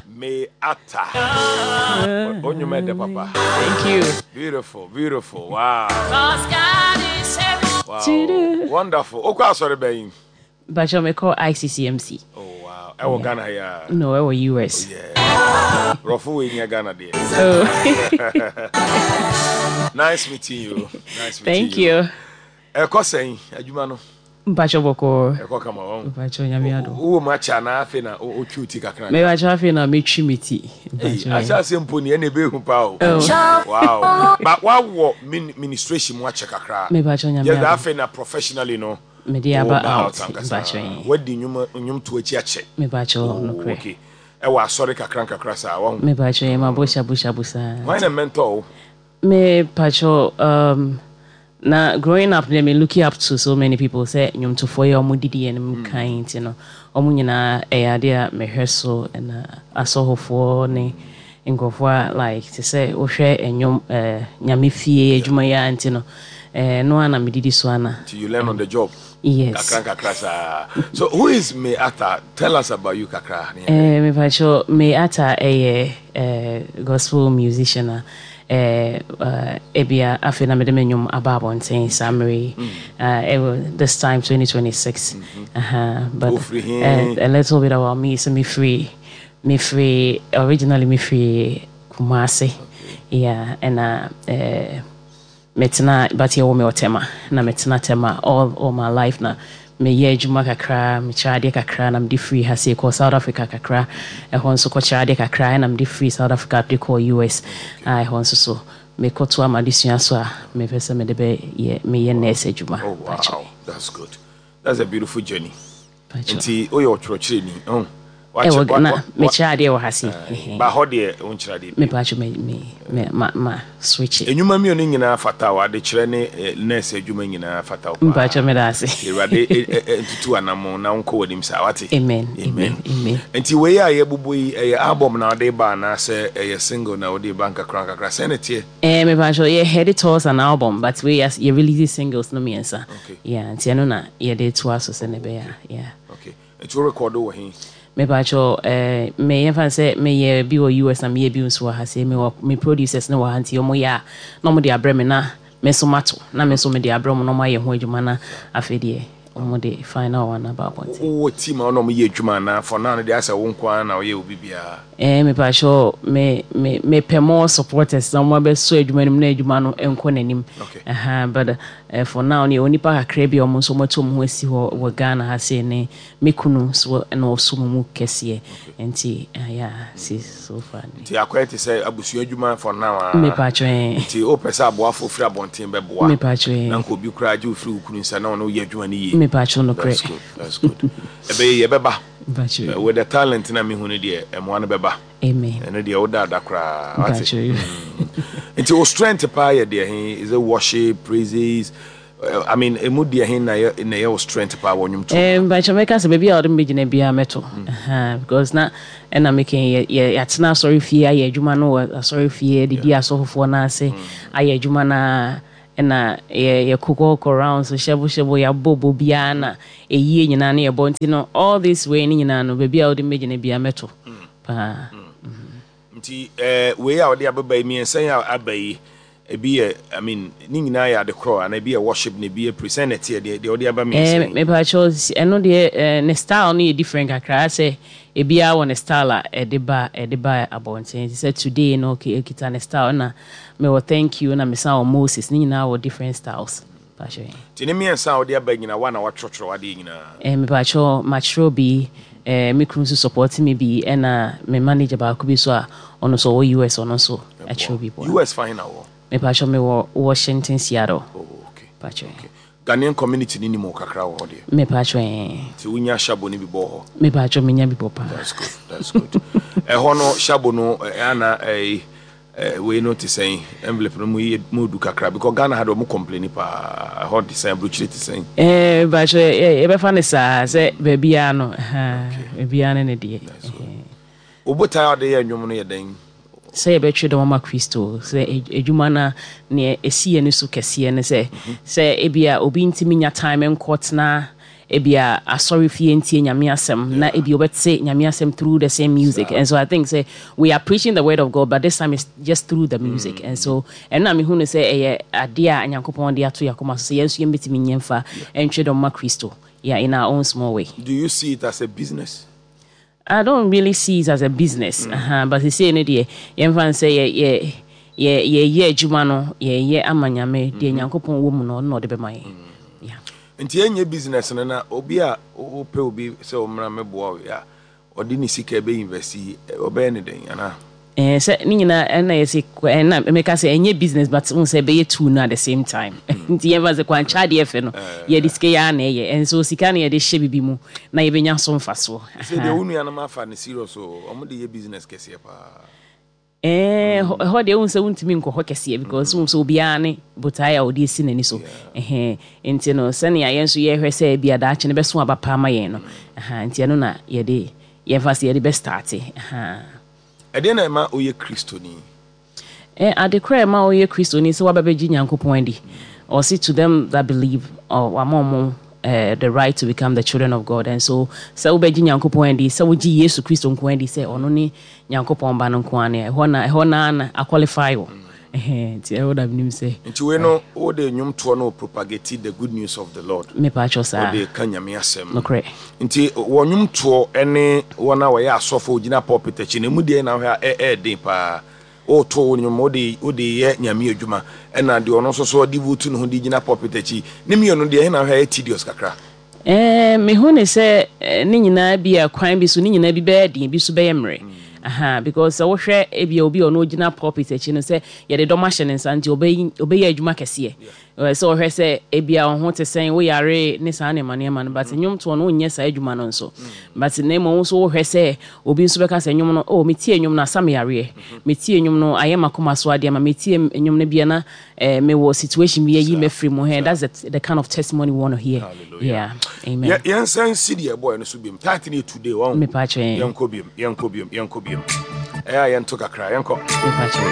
May Atta. Wo nnwom ɛdɛ papa. Thank you. Beautiful, beautiful. Wow. Wow. Wonderful. Okɔ asɔre bɛn? Bacho me kɔ ICCMC. Oh wow. Ɛwɔ Ghana ya. No, ɛwɔ US. Oh, yeah. Brɔfo wei nya Ghana deɛ. Oh. Nice meeting you. Nice meeting Thank you. you. Ɛkɔ sɛn adwuma no? Mpacho bɔkɔɔ. Ɛkɔ kama wɔn. Mpacho Nyame adom. Wowɔ mu akyɛ anaa afei na wotwi wo ti kakra? Mepacho afei na metwi me ti. Ei, ahyɛ ase mpo ni ɛna ɛbɛhu paa o. Oh. Wow. Ba wawɔ ministration mu akyɛ kakra. Mepacho Nyame adom. Yɛ afei na professionally no. Mede aba out. Mpacho yi. Wadi nnwom nnwom to akyi akyɛ. Mepacho oh, nokorɛ. Okay. Ɛwɔ asɔre kakra nkakra saa wahu. Mepacho yɛ ma bo shabu shabu saa. Hwan na mentor wo? Me pacho na growing up deɛ me looking up to so many people sɛ nnwomtofoɔ yi a wɔn didi yɛn mu kan nti no wɔn nyinaa ɛyɛ adeɛ a mehwɛ so ɛna asɔhofoɔ ne nkurɔfoɔ a like te sɛ wohwɛ nnwom ɛɛ nyame fie adwuma yi ara nti no ɛɛ no ara na me didi so ana. Nti you learn on the job. Yes. Kakra nkakra saa. So who is May Arthur? Tell us about you kakra. Eh, me pacho, May Arthur ɛyɛ eh, gospel musician a eh, uh, ebia afei na mede me nnwom aba abɔnten saa mmerɛ yi. Uh, eh, this time 2026. Mm -hmm. But a little bit about me, so me free, me free, originally me free Kumasi. Okay. Yeah, and Metena but yɛwoo me wɔ Tema na metena Tema all my life na meyɛ adwuma kakra mekyerɛ adeɛ kakra na mede firi ha sei kɔɔ South Africa kakra ɛhɔ nso kɔkyerɛ adeɛ kakra ɛna mede firi South Africa de kɔɔ US a ɛhɔ nso so mekɔtoa m'adesua so a mepɛ sɛ mede bɛyɛ meyɛ nurse adwuma. Oh wow, that's good. That's a beautiful journey. Nti woyɛ ɔkyerɛkyerɛni oh. Ɛwɔ na mekyerɛ adeɛ wɔ ha se. Ba hɔ deɛ wonkyerɛ adeɛ bio. Mepatwo me me me ma ma switch. Enyuma mmienu nyinaa fata wo, adekyerɛ ne nurse adwuma nyinaa fata wo paa. Mpatwo meda ase. Awurade ntutu anamon na wonkɔ w'anim saa wate. Amen amen amen. Nti wei a yɛbobɔ yi ɛyɛ album na wode ba anaasɛ ɛyɛ single na wode ba nkakra nkakra sɛn na ɛteɛ? Eh mepatwo yɛ head towards an album but wei yɛ release singles no mmiɛnsa. Okay. Yeah nti ɛno na yɛde toa so sɛnea ɛbɛyɛ a yeah. Okay. Nti wo record wɔ he? Mepakyɛw eh, me yɛmfa no sɛ meyɛ bi wɔ US na meyɛ bi nso wɔ ha sei, mewɔ me producers no wɔ ha nti wɔyɛ a na wɔde abrɛ me na me nso mato na me nso mede abrɛ wɔn na wɔayɛ ho adwuma na afei deɛ wɔde final one aba abɔnten. Wowɔ team a wo ne wɔn yɛ adwuma anaa for now no deɛ asɛ wo nko ara na woyɛ wo biribiara? Eh mepakyɛw me me mepɛ more supporters na wɔn abɛsɔ adwuma no mu na adwuma no nkɔ n'anim. Okay. Aha, but eh, for now no yɛwɔ nnipa kakra bi a wɔn nso wɔatu wɔn ho asi hɔ wɔ Ghana ha sei ne me kunu nso na ɔso mo mu kɛseɛ nti eh, yeah, see so far ni. Nti akɔyɛ te sɛ abusua adwuma for now aa. Mepakyɛw eh. Nti wopɛ sɛ aboafoɔ firi abɔnten bɛboa. Mepakyɛw eh. Na nka obi koraa gye wo firi wo kunu nsa na ɔne wo yɛ adwuma no yie. Mepakyɛw nokorɛ. That's good, that's good. Ɛbɛyɛ yie, ɛbɛba. Mepakyɛw. With the talent na mehu no deɛ, mmoa no bɛba. Amen. Ɛno deɛ woda ada koraa. Wate? Mepakyɛw. Nti wo strength paa yɛ deɛ he? Is it worship, praises? I mean, emu deɛ he na yɛ na ɛyɛ wo strength paa wɔ nnwomtoɔ Eh, mu? mpakyɛ mɛka sɛ baabi a wɔde me bɛgyina biara mɛto. Aha, because na ɛna meka yi, yɛ yɛ yɛatena asɔre fie ayɛ adwuma no wɔ asɔre fie, adidi asɔfofoɔ no ase, ayɛ adwuma no ara, ɛna yɛ yɛkokɔkɔ rounds hyɛbo hyɛbo, yɛabɔ bɔ biara na ɛyie nyinaa no yɛbɔ. Nti no, all this way no nyinaa no, baabi a wode me bɛgyina biara mɛto paa. Nti eh, wei a wɔde abeba yi, mmiɛnsa yi a aba yi, ebi yɛ, I mean, ne nyinaa yɛ ade korɔ anaa ebi yɛ worship na ebi yɛ praise, sɛn na ɛteɛ deɛ deɛ wɔde aba mmiɛnsa Eh, yi? mepakyɛw, ɛno deɛ eh, ne style no yɛ different kakra, asɛ ebiara wɔ ne style a ɛde ba ɛde ba abɔnten, te sɛ today no okita ne style, ɛna mewɔ thank you, ɛna mesan wɔ Moses, ne nyinaa wɔ different styles. Pakyɛw. Nti ne mmiɛnsa a wɔde aba yi nyinaa, woa na woatwerɛtwerɛ w'adeɛ nyinaa? Eh, mepakyɛw, makyerɛw bi, eh, me kunu nso support me bi, ɛna me manager baako bi nso a ɔno nso ɔwɔ US, ɔno nso akyerɛw bi boa me. US fa he na wowɔ? Mepakyɛw, mewɔ Washington, Seattle. Oh, okay. Pakyɛw. Okay. Ghanaian community no nim wo kakra wɔ hɔ deɛ? Mepakyɛw, eh. Nti wonya shabo no bi bɔ hɔ? Mepakyɛw, menya bi bɔ paa. That's good, that's good. Ɛhɔ no, shabo no, eh, ana, eh, Eh, wei no te sɛn? Envelope no mu yɛ mu du kakra because Ghana ha de ɔmo complaini paa. Ɛhɔ te sɛn? Aburokyire te sɛn? Eh, bakyɛ yɛbɛfa no saa sɛ baabiara no, baabiara ne ne deɛ. Wo botae a wode yɛ nnwom no yɛ dɛn? Sɛ yɛbɛtwe dɔm ama Kristo, sɛ adwuma no nea ɛsi yɛn ani so kɛseɛ ne sɛ, sɛ ebia obi ntumi nya time nkɔtena Ebia asɔre fie ntie Nyame asɛm na ebia wobɛte Nyame asɛm through the same music and so I think sɛ we are preaching the word of God but this time it's just through the music and so ɛno na mehu no sɛ ɛyɛ adeɛ a Nyankopɔn de ato yɛn akoma so sɛ yɛn nso yɛmbɛtumi nyɛ mfa ntwe dɔm ma Kristo, yeah, in our own small way. Do you see it as a business? I don't really see it as a business ahaa but sesei no deɛ yɛmfa no sɛ yɛ yɛ yɛ yɛyɛ adwuma no yɛyɛ ama Nyame deɛ Nyankopɔn wɔ mu no ɔno na ɔde bɛma yɛn yeah. Nti ɛnyɛ business no na obi a wopɛ obi sɛ ɔmmra mmɛboa wo a ɔde ne sika bɛ invest yi ɔbɛyɛ ne dɛn anaa? Ɛɛ sɛ ne nyinaa ɛna yɛsi ɛna meka sɛ ɛnyɛ business but wohu sɛ ɛbɛyɛ two no at the same time nti yɛmfa sɛ kwankyɛ adeɛ fɛ no yɛde sika yi ara na ɛyɛ ɛnso sika no yɛde hyɛ bibi mu na yɛbɛnya so mfasoɔ. Sɛ deɛ wo nuanom afa no serious o, wɔn de yɛ business kɛseɛ paa. Ɛɛ ɛhɔ deɛ wohu sɛ wontumi nkɔ hɔ kɛseɛ because wohu sɛ obiara ne botaeɛ a ɔde asi n'ani so ɛhɛn nti no sɛnea yɛn nso yɛhwɛ sɛ ebia daakye no bɛso aba paa ma yɛn no ɛha nti ɛno na yɛde yɛmfa sɛ yɛde bɛ starte ɛha. Ɛdeɛn na ɛma woyɛ Kristoni? Ɛ, ade korɔ a ɛma woyɛ Kristoni sɛ woaba bɛgye Nyankopɔn adi. Ɔse to them that believe, ɔ, wama ɔmo eh, the right to become the children of God. And so, sɛ wobɛgye Nyankopɔn adi, sɛ wogye Yesu Kristo nko adi sɛ ɔno ne Nyankopɔn Ba no nko ara no, ɛhɔ na, ɛhɔ no ara na aqualify wo. Ɛhɛn, nti ɛhɔ na menim sɛ. Nti wei no wode nnwomtoɔ no propagate the good news of the Lord. Mepaakyɛw saa. Wode ka Nyame asɛm. Nokorɛ. Nti wɔ nnwomtoɔ ne wɔn a wɔyɛ asɔfo gyina pulpit akyi no, emu deɛn na wohwɛ a ɛyɛ den paa? Woreto wo nnwom, wode wode reyɛ Nyame adwuma, ɛna deɛ ɔno nso so ɔde vote ne ho de gyina pulpit akyi. Ne mmienu deɛ ɛhe na wohwɛ a ɛyɛ tedious kakra? Ɛɛ, mehu no sɛ ne nyinaa bi a kwan bi so ne nyinaa bi bɛyɛ den, ebi nso bɛyɛ mmerɛ. Aha, because sɛ wohwɛ ebia obi a ɔno ogyina pulpit akyi no sɛ yɛde dɔm ahyɛ ne nsa nti ɔbɛyi ɔbɛyɛ adwuma kɛseɛ. Ɛɛ sɛ ɔhwɛ sɛ ebia wo ho te sɛn, woyare ne saa nneɛma nneɛma no, but nnwomtoɔ no wonyɛ saa adwuma no nso. But na mmom wo nso wohwɛ sɛ obi nso bɛka sɛ nnwom no, oh metie nnwom no asa me yareɛ, metie nnwom no ayɛ m'akoma so adeɛ ama metie nnwom no bia na Eh me wɔ situation bi ayi mafiri mu hɛn that's the kind of testimony we want to hear. Hallelujah. Yeah. Amen. Yɛ yɛn nsa nsi deɛ ɛbɔɛ no so biom. Title no yɛ today wɔn. Mepa kyɛ. Yɛnkɔ biom, yɛnkɔ biom, yɛnkɔ biom. Ɛyɛ a yɛnto kakra, yɛnkɔ. Mepa kyɛ.